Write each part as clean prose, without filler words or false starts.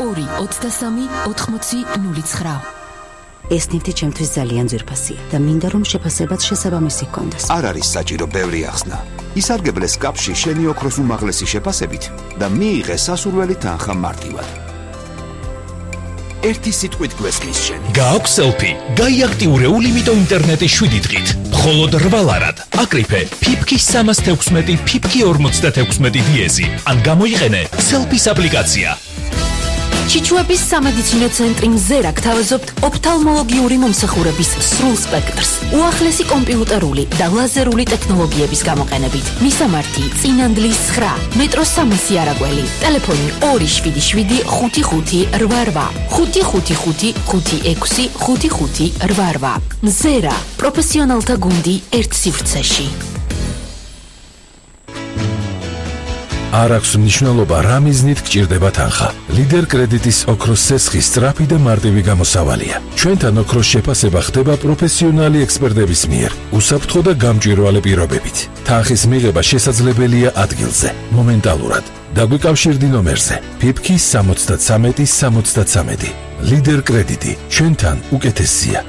2-23-80-09. ეს ნივთი ჩემთვის ძალიან ძვირფასია და მინდა რომ შეფასებაც შესაბამისი ჰქონდეს. არ არის საჭირო ბევრი ახსნა. ისარგებლეს კაპში შენი ოქროს უმაღლესი შეფასებით და მიიღე სასურველი თანხა მარტივად. ერთი სიტყვით გვესმის შენი. გააქვს სელფი, გაიაქტიურე ულიმიტო ინტერნეტის 7 დღით. მხოლოდ 8 ლარად. აკრიფე ფიფკი 316, ფიფკი 46 დიეზი. ან გამოიყენე სელფის აპლიკაცია. ჩიჩუების სამედიცინო ცენტრი მზერა გთავაზობთ ოფთალმოლოგიური მომსახურების სრულ სპექტრს. უახლესი კომპიუტერული და ლაზერული ტექნოლოგიების გამოყენებით. მისამართი წინანდლის 9, მეტროს 300 არაგველი. ტელეფონი 277 55 88 555 56 55 88. მზერა, პროფესიონალთა გუნდი ერთ სივრცეში. არ აქვს მნიშვნელობა რა მიზნით გჭირდება თანხა. ლიდერ კრედიტის ოქროს სესხის სწრაფი და მარტივი გამოსავალია. ჩვენთან ოქროს შეფასება ხდება პროფესიონალი ექსპერტების მიერ, უსაფრთხო და გამჭვირვალე პირობებით. თანხის მიღება შესაძლებელია ადგილზე, მომენტალურად. დაგვიკავშირდი ნომერზე: ფიფკი 73 73. ლიდერ კრედიტი, ჩვენთან უკეთესია.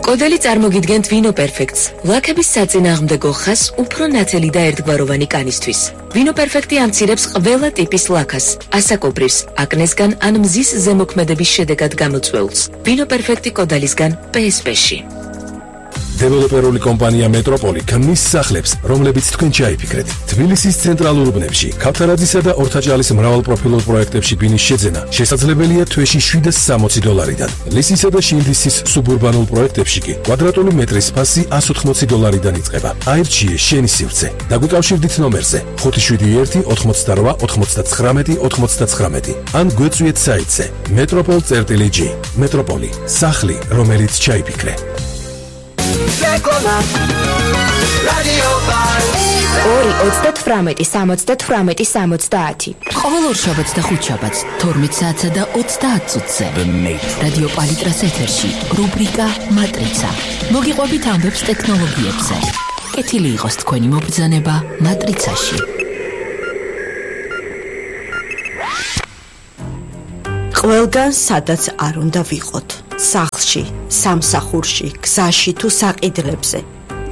კოდელი წარმოგიდგენთ ვინო პერფექტს, ლაქების საწინააღმდეგო ხაზს უფრო ნათელი და ერთგვაროვანი კანისთვის. ვინო პერფექტი ამცირებს ყველა ტიპის ლაქას, ასაკობრივს, აკნესგან ან მზის ზემოქმედების შედეგად გამოწვეულს. ვინო პერფექტი კოდალისგან PSP-ში. დეველოპერული კომპანია მეტროპოლი ქმნის სახლებს, რომლებიც თქვენ ჩაიფიქრეთ. თბილისის ცენტრალურ უბნებში, ქავთარაძისა და ორთაჭალის მრავალპროფილურ პროექტებში ბინის შეძენა შესაძლებელია თვეში $760-დან. ლისისა და შილდისის სუბურბანულ პროექტებში კი კვადრატული მეტრის ფასი $180-დან იწყება. აირჩიე შენი სივრცე. დაგვიკავშირდით ნომერზე 571 88 99 99 ან გვეწვიეთ საიტზე metropol.g. მეტროპოლი, სახლი, რომელიც ჩაიფიქრე. 2-28-70-70. ყოველ ორშაბათს და ხუთშაბათს 12 საათსა და 30 წუთზე რადიო პალიტრას ეთერში რუბრიკა მატრიცა. მოგიყვებით ამბებს ტექნოლოგიებზე. კეთილი იყოს თქვენი მობრძანება მატრიცაში. ყველგან სადაც არ უნდა ვიყოთ. სახლში, სამსახურში, გზაში თუ საყიდლებზე.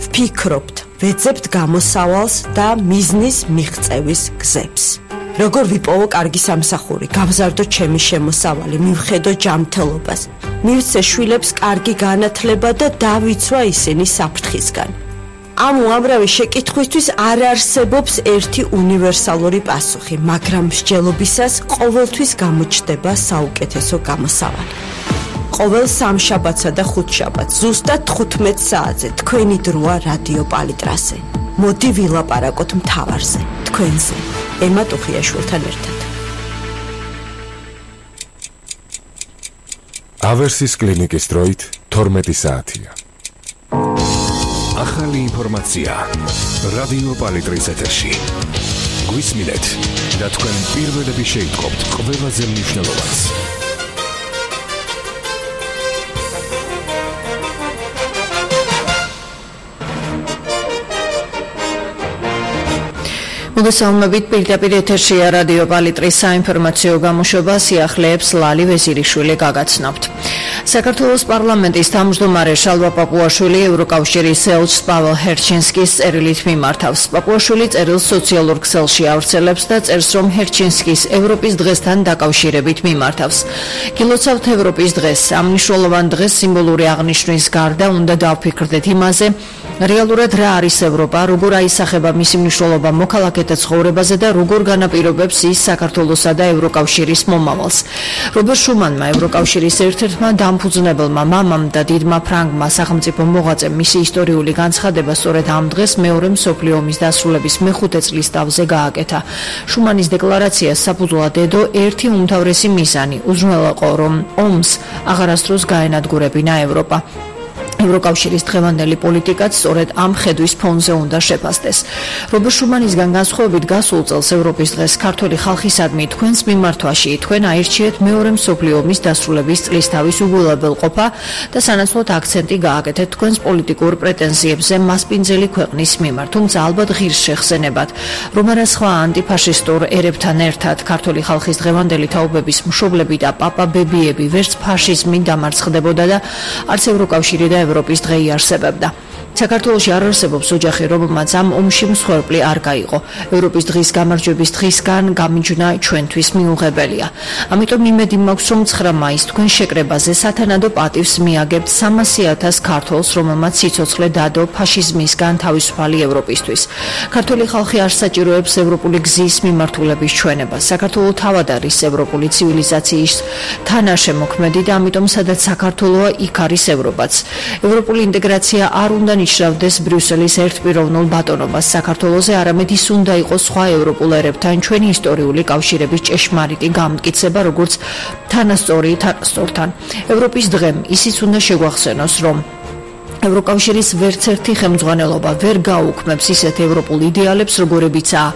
ვფიქრობთ, ვეძებთ გამოსავალს და მიზნის მიღწევის გზებს. როგორ ვიპოვო კარგი სამსახური, გავზარდო ჩემი შემოსავალი, მივხედო ჯანმრთელობას, მივცე შვილებს კარგი განათლება და დავიცვა ისინი საფრთხისგან. ამ უამრავი შეკითხვისთვის არ არსებობს ერთი უნივერსალური პასუხი, მაგრამ მსჯელობისას ყოველთვის გამოჩნდება საუკეთესო გამოსავალი. ყოველ სამშაბათსა და ხუთშაბათს ზუსტად 15 საათზე თქვენი დროა რადიო პალიტრაზე. მოდი ვილაპარაკოთ მთავარზე, თქვენზე, ემა ტუხიაშვილთან ერთად. ავერსის კლინიკის დროით 12 საათია. ახალი ინფორმაცია რადიო პალიტრის ეთერში. გვისმინეთ და თქვენ პირველები შეიტყობთ ყველაზე მნიშვნელოვანს. მოგესალმებით, პირდაპირ ეთერშია რადიო პალიტრის საინფორმაციო გამოშვება, სიახლეებს ლალი ვეზირიშვილი გაგაცნობთ. საქართველოს პარლამენტის თავმჯდომარე შალვა პაპუაშვილი ევროკავშირის ელჩს პაველს ჰერჩინსკის წერილით მიმართავს. პაპუაშვილი წერილს სოციალურ ქსელში ავრცელებს და წერს, რომ ჰერჩინსკის ევროპის დღესთან დაკავშირებით მიმართავს. გილოცავთ ევროპის დღეს. ამ მნიშვნელოვან დღეს სიმბოლური აღნიშვნის გარდა უნდა დავფიქრდეთ იმაზე, რეალურად რა არის ევროპა, როგორ აისახება მისი მნიშვნელობა მოქალაქეთა ცხოვრებაზე და როგორ განაპირობებს ის საქართველოსა და ევროკავშირის მომავალს. რობერტ შუმანმა, ევროკავშირის ერთ-ერთმა დამფუძნებელმა მამამ და დიდმა ფრანგმა სახელმწიფო მოღვაწემ მისი ისტორიული განცხადება სწორედ ამ დღეს მეორე მსოფლიო ომის დასრულების მეხუთე წლის თავზე გააკეთა. შუმანის დეკლარაციას საფუძვლად ედო ერთი უმთავრესი მიზანი, უზრუნველყო, რომ ომს აღარასდროს გაენადგურებინა ევროპა. ევროკავშირის დღევანდელი პოლიტიკაც სწორედ ამ ხედვის ფონზე უნდა შეფასდეს. რობერტ შუმანისგან განსხვავებით გასულ წელს ევროპის დღეს ქართული ხალხისადმი თქვენს მიმართვაში თქვენ აირჩიეთ მეორე მსოფლიო ომის დასრულების წლისთავის უგულებელყოფა და სანაცვლოდ აქცენტი გააკეთეთ თქვენს პოლიტიკურ პრეტენზიებზე მასპინძელი ქვეყნის მიმართ, თუმცა ალბათ ღირს შეხსენებათ, რომ არა სხვა ანტიფაშისტურ ერებთან ერთად ქართული ხალხის დღევანდელი თაობების მშობლები და პაპაბებიები ვერც ფაშიზმი დამარცხდებოდა და არც ევროკავშირი და ევროპის დღე იარსებებდა. საქართველოში არ არსებობს ოჯახი, რომელმაც ამ ომში მსხვერპლი არ გაიყო. ევროპის დღის გამარჯვების დღისგან გამიჯვნა ჩვენთვის მიუღებელია. ამიტომ იმედი მაქვს, რომ 9 მაისს თქვენ შეკრებაზე სათანადო პატივს მიაგებთ 300,000 ქართველს, რომელმაც სიცოცხლე დადო ფაშიზმისგან თავისუფალი ევროპისთვის. ქართული ხალხი არ საჭიროებს ევროპული გზის მიმართულების ჩვენებას. საქართველო თავად არის ევროპული ცივილიზაციის თანაშემოქმედი და ამიტომ სადაც საქართველოა, იქ არის ევროპაც. ევროპული ინტეგრაცია არ უნდა ნიშნავდეს ბრიუსელის ერთპიროვნულ ბატონობას საქართველოზე, არამედ ის უნდა იყოს სხვა ევროპულ ერებთან ჩვენი ისტორიული კავშირების ჭეშმარიტი გამტკიცება, როგორც თანასწორთან. ევროპის დღემ ისიც უნდა შეგვახსენოს, რომ ევროკავშირის ვერც ერთი ხელმძღვანელობა ვერ გაუქმებს ისეთ ევროპულ იდეალებს, როგორებიცაა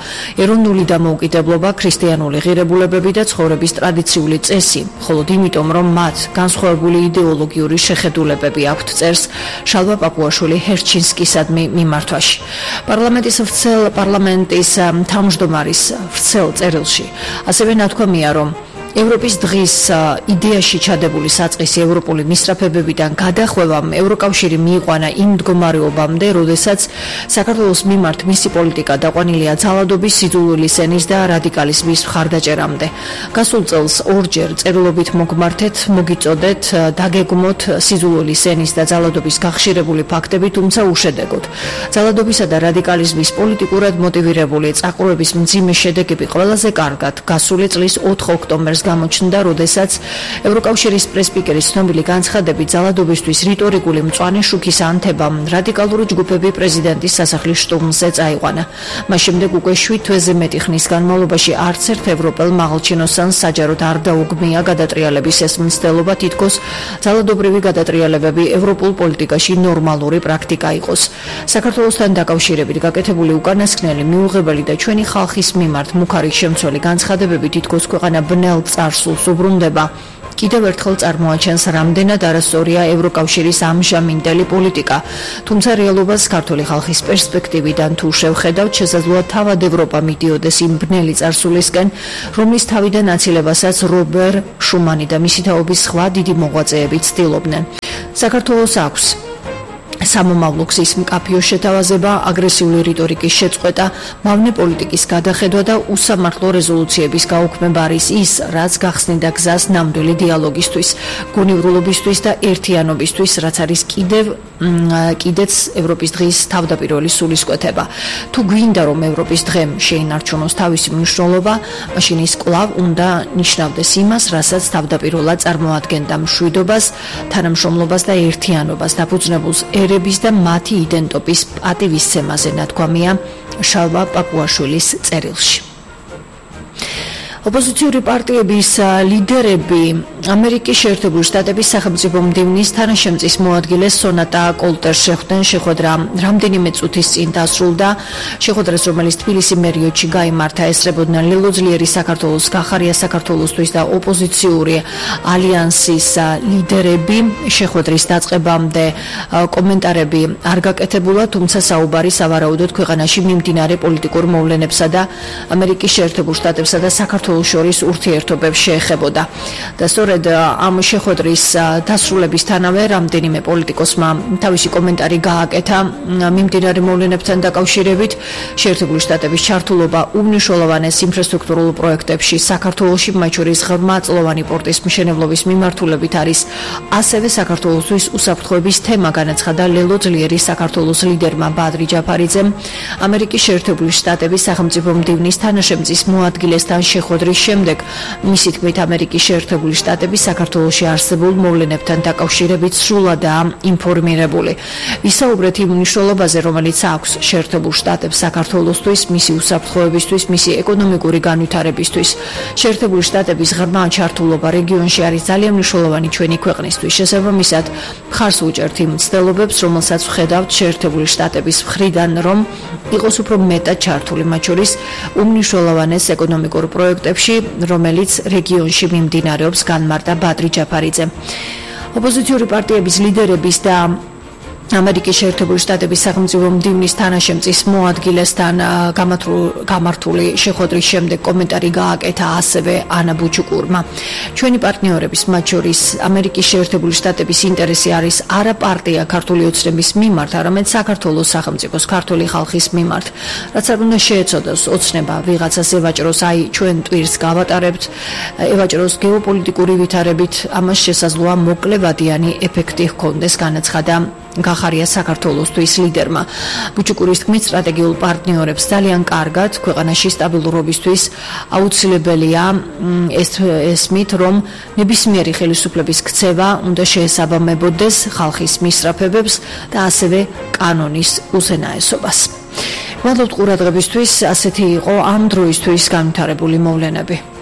ეროვნული დამოუკიდებლობა, ქრისტიანული ღირებულებები და ცხოვრების ტრადიციული წესი, მხოლოდ იმიტომ, რომ მათ განსხვავებული იდეოლოგიური შეხედულებები აქვთ, წერს შალვა პაპუაშვილი ჰერჩინსკისადმი მიმართვაში. პარლამენტის თავმჯდომარის ვრცელ წერილში ასევე ნათქვამია, რომ ევროპის დღის იდეაში ჩადებული საწყისი ევროპული მისწრაფებებიდან გადახვევამ ევროკავშირი მიიყვანა იმ მდგომარეობამდე, როდესაც საქართველოს მიმართ მისი პოლიტიკა დაყვანილია ძალადობის, სიძულვილის ენის და რადიკალიზმის მხარდაჭერამდე. გასულ წელს ორჯერ წერილობით მოგმართეთ, მოგიწოდეთ, დაგეგმოთ სიძულვილის ენის და ძალადობის გახშირებული ფაქტები, თუმცა უშედეგოდ. ძალადობისა და რადიკალიზმის პოლიტიკურად მოტივირებული წაყრუების მძიმე შედეგები ყველაზე კარგად გასული წლის 4 ოქტომბერს გამოჩნდა, როდესაც ევროკავშირის პრესპიკერის ცნობილი განცხადებით ძალადობისთვის რიტორიკული მწვანე შუქის ანთებამ რადიკალური ჯგუფები პრეზიდენტის სასახლის შტურმზე წაიყვანა. მას შემდეგ უკვე 7 თვეზე მეტი ხნის განმავლობაში არც ერთ ევროპელ მაღალჩინოსანს საჯაროდ არ დაუგმია გადატრიალების ეს მცდელობა, თითქოს ძალადობრივი გადატრიალებები ევროპულ პოლიტიკაში ნორმალური პრაქტიკა იყოს. საქართველოსთან დაკავშირებით გაკეთებული უკანასკნელი, მიუღებელი და ჩვენი ხალხის მიმართ მუქარი შემცველი განცხადებები თითქოს ქვეყანა ბნელ წარსულს უბრუნდება. კიდევ ერთხელ წარმოაჩენს, რამდენად არასწორია ევროკავშირის ამჟამინდელი პოლიტიკა. თუმცა რეალობას ქართული ხალხის პერსპექტივიდან თუ შევხედავთ, შესაძლოა თავად ევროპა მიდიოდეს იმ ბნელი წარსულისკენ, რომლის თავიდან აცილებასაც რობერტ შუმანი და მისი თაობის სხვა დიდი მოღვაწეები ცდილობდნენ. საქართველოს აქვს სამომავლო გზის მკაფიო შეთავაზება, აგრესიული რიტორიკის შეწყვეტა, მავნე პოლიტიკის გადახედვა და უსამართლო რეზოლუციების გაუქმება არის ის, რაც გახსნიდა გზას ნამდვილი დიალოგისთვის, გონივრულობისთვის და ერთიანობისთვის, რაც არის კიდეც ევროპის დღის თავდაპირველი სულისკვეთება. თუ გვინდა, რომ ევროპის დღემ შეინარჩუნოს თავისი მნიშვნელობა, მაშინ ის კვლავ უნდა ნიშნავდეს იმას, რასაც თავდაპირველად წარმოადგენდა მშვიდობას, თანამშრომლობას და ერთიანობას, დაფუძნებულს ერების და მათი იდენტობის პატივისცემაზე, ნათქვამია შალვა პაპუაშვილის წერილში. ოპოზიციური პარტიების ლიდერები ამერიკის შეერთებული შტატების სახელმწიფო მდივნის თანაშემწის მოადგილეს სონატა კოლტერს შეხვდნენ. შეხვედრა რამდენიმე წუთის წინ დასრულდა. შეხვედრას, რომელიც თბილისის მერიოდში გაიმართა, ესწრებოდნენ ლელოძლიერი საქართველოს, გახარია საქართველოსთვის და ოპოზიციური ალიანსის ლიდერები. შეხვედრის დაწყებამდე კომენტარები არ გაკეთებულა, თუმცა საუბარი სავარაუდოდ ქვეყანაში მიმდინარე პოლიტიკურ მოვლენებსა და ამერიკის შეერთებულ შტატებსა და საქართველოს შორის ურთიერთობებს შეეხებოდა. და სწორედ ამ შეხვედრის დასრულებისთანავე რამდენიმე პოლიტიკოსმა თავისი კომენტარი გააკეთა მიმდინარე მოვლენებთან დაკავშირებით. შეერთებული შტატების ჩართულობა უმნიშვნელოვანეს ინფრასტრუქტურულ პროექტებში საქართველოში, მათ შორის ღრმაწლოვანი პორტის მშენებლობის მიმართულებით არის ასევე საქართველოსთვის უსაფრთხოების თემა, განაცხადა ლელოძლიერი საქართველოს ლიდერმა ბადრი ჯაფარიძემ ამერიკის შეერთებული შტატების სახელმწიფო მდივნის თანაშემწის მოადგილესთან შეხვედრის შეხვედრის შემდეგ მისი თქმით ამერიკის შეერთებული შტატები საქართველოში არსებულ მოვლენებთან დაკავშირებით სრულადაა ინფორმირებული. ვისაუბრეთ იმ მნიშვნელობაზე, რომელიც აქვს შეერთებულ შტატებს საქართველოსთვის, მისი უსაფრთხოებისთვის, მისი ეკონომიკური განვითარებისთვის. შეერთებული შტატების ღრმა ჩართულობა რეგიონში არის ძალიან მნიშვნელოვანი ჩვენი ქვეყნისთვის. შესაბამისად, მხარს უჭერთ იმ მცდელობებს, რომელსაც ვხედავთ შეერთებული შტატების მხრიდან, რომ იყოს უფრო მეტად ჩართული მათ შორის უმნიშვნელოვანეს ეკონომიკურ პროექტებში, რომელიც რეგიონში მიმდინარეობს, განმარტა ბადრი ჯაფარიძე. ოპოზიციური პარტიების ლიდერების და ამერიკის შეერთებული შტატების სახელმწიფო მდივნის თანაშემწის მოადგილესთან გამართული შეხვედრის შემდეგ კომენტარი გააკეთა ასევე ანა ბუჩუკურმა. ჩვენი პარტნიორების, მათ შორის ამერიკის შეერთებული შტატების ინტერესი არის არა პარტია ქართული ოცნების მიმართ, არამედ საქართველოს სახელმწიფოს, ქართული ხალხის მიმართ. რაც არ უნდა შეეცოდოს ოცნება ვიღაცას ევაჭროს, აი ჩვენ ტვირს გავატარებთ, ევაჭროს გეოპოლიტიკური ვითარებით, ამას შესაძლოა მოკლევადიანი ეფექტი ჰქონდეს, განაცხადა გახარია საქართველოსთვის ლიდერმა. ბუჩუკურის თქმით, სტრატეგიულ პარტნიორებს ძალიან კარგად ქვეყანაში სტაბილურობისთვის აუცილებელია ესმით, რომ ნებისმიერი ხელისუფლების ქცევა უნდა შეესაბამებოდეს ხალხის მისწრაფებებს და ასევე კანონის უზენაესობას. მადლობთ ყურადღებისთვის, ასეთი იყო ამ დროისთვის განვითარებული მოვლენები.